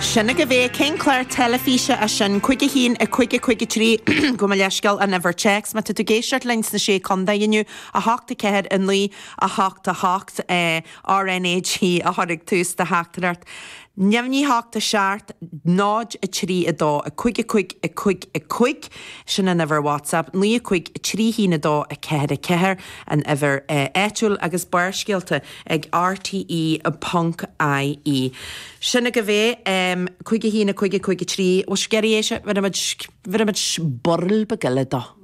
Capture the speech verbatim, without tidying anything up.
Sin agaibh é cén clár teilifíse é sin cúig a haon a cúig a cúig a trí gabh mo leithscéal an uimhir téacs má tá tú ag éisteacht linn sna sé chontae inniu a hocht a ceathair a naoi a hocht a hocht RNAG a chur ag tús do theachtaireacht. Neamhní hocht a seacht náid a trí a dó a cúig a cúig a cúig a cúig sin an uimhir WhatsApp naoi a cúig trí haon a dó a ceathair a ceathair an uimhir áitiúil agus Barrscéalta ag RTE ponc IE. Sin agaibh é cúig a haon a cúig a cúig a trí bhfuil sibh ag iarraidh é bhí burl beag eile dó.